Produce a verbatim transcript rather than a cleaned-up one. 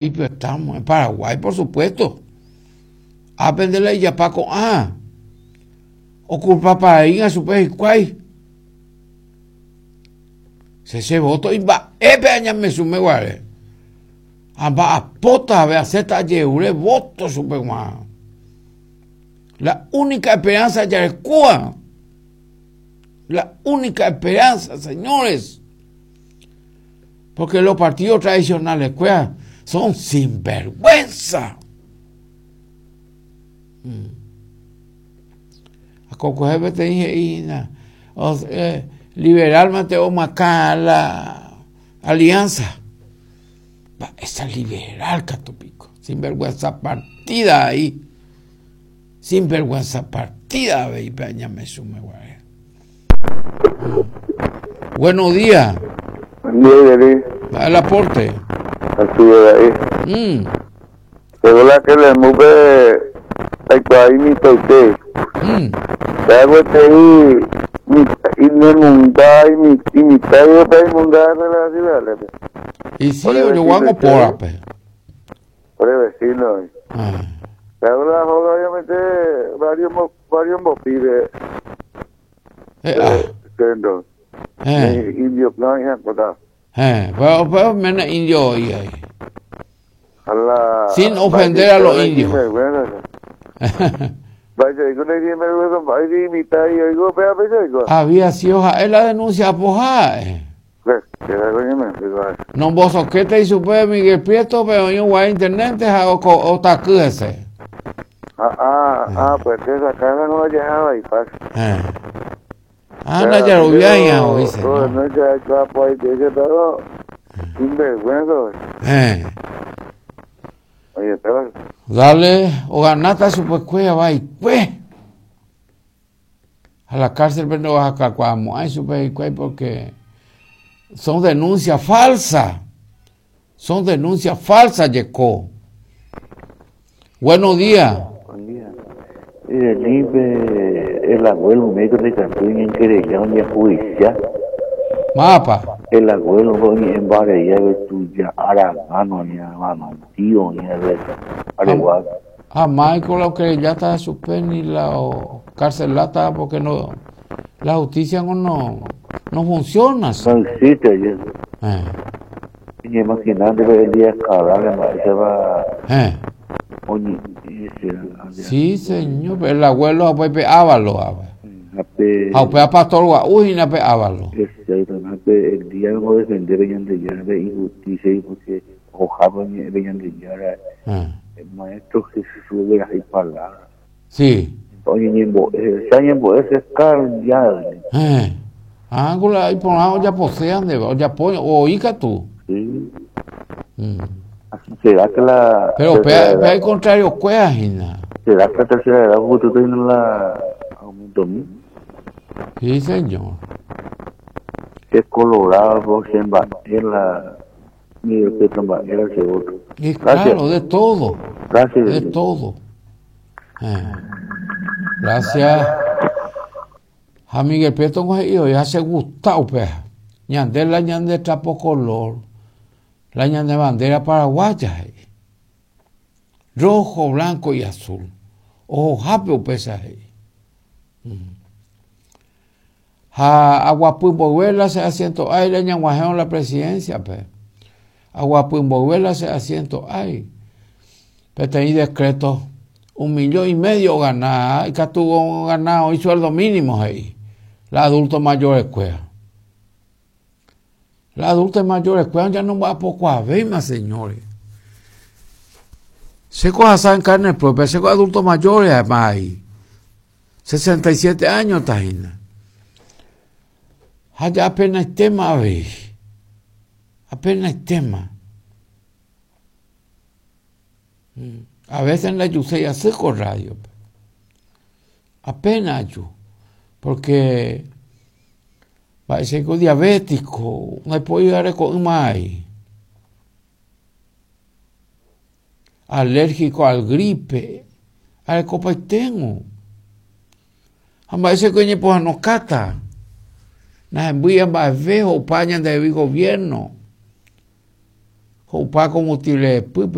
Estamos en Paraguay, por supuesto. Aprende la iyapaco ah. Oculpa para ir a su hikuái. Se se voto imba'épe añamesume guare. Amba'apóta ave aséta ajeure voto chupeg̃uarã. La única esperanza jarekóva. La única esperanza, señores. Porque los partidos tradicionales kuéra son sinvergüenza. Mm. Akokuehe peteĩ he'ína eh, liberal mante omoakã la alianza. Esa liberal katu piko. Sinvergüenza partida ahí. Sinvergüenza partida avei pe añamesume guare. Buenos días. Buen día, Yeri. El aporte. Así es ahí. Mm. Pero la que le mueve aikuaa imitaite. Mm. Aguetei inemunda imitai pe imunda relacionales. Y sí, yo voy a por Por el vecino. Ah. Pero la joda obviamente varios varios pibes. Eh, ah. Eh. Indio plan y acotado. Eh, pero, pero menos indio hoy ahí. A la, Sin ofender a los indios. Había sido es la denuncia apojada. Eh. No vos soquete y supe Miguel Prieto, pero yo voy a internet o o ese. Ah, ah, ah, pues esa casa no la dejaba y pasa. Eh. Ah, la ya ya hoy se. No, no ya ya pues ese todo. Sinvergüenza. Eh. Oye, pero Dale, o ganata su pues cueva va y pues. A la cárcel pero no vas a cacuamo, ay su pues porque son denuncias falsas. Son denuncias falsas, Yeco. Buenos días. Buen día. El, el abuelo médico de Cantú en querella un judicial. Mapa. El abuelo en Barella de tuya Aragano ni hermano tío ni el Areguá. Ah, Michael, lo que ya está suspendido ni la carcelata porque no la justicia no no, no funciona. No existe ya. Eh. Y imaginando el día cabal se va. Eh. Oye, Sí, señor, el abuelo pues Ávalo, Ape, a pe pastor guau na pe Ávalo. Exactamente, el día no defender de injusticia y porque ojalá de Eh. el maestro Jesús de las palabras. Sí. Oye, ñembo, ese ñembo ese ya. Eh. Ángulo y por ahí ya posean de ya pone o ica tú. Sí. Mm. ¿Será que la Pero pe pe al contrario cueva gina. ¿Será que la tercera edad porque tú tienes la aumento mil? Sí, señor. Que colorado, en la Miguel Petro era el segundo. Y claro, de todo. Gracias. De todo. Eh. Gracias. A Miguel Prieto ya se gustado, pues. Ñande la ñande trapo color. La ñande bandera paraguaya. Eh. Rojo, blanco y azul. Ojo, jape o pesa. Mm. A Aguapumbohuela se asiento ay, le ñanguajeron la presidencia, pues. Aguapumbohuela se asiento ay. Pero decreto, un millón y medio ganada, y que tuvo ganado y sueldo mínimo ahí. La adulto mayor escuela. La adulta mayor escuela ya no va a poco a ver más, señores. Se coja en carne propia, se coja adultos mayores además ahí. sesenta y siete años, tajina. Allá apenas hay tema, ve. Apenas hay tema. A veces en la Yusei hace con radio. Apenas yo. Porque parece que diabético, no puedo llegar con más. Alérgico al gripe, al copa tengo. A veces que pues no cata. Nas envían más viejo pañan de gobierno. Ho'upa combustible repýpe.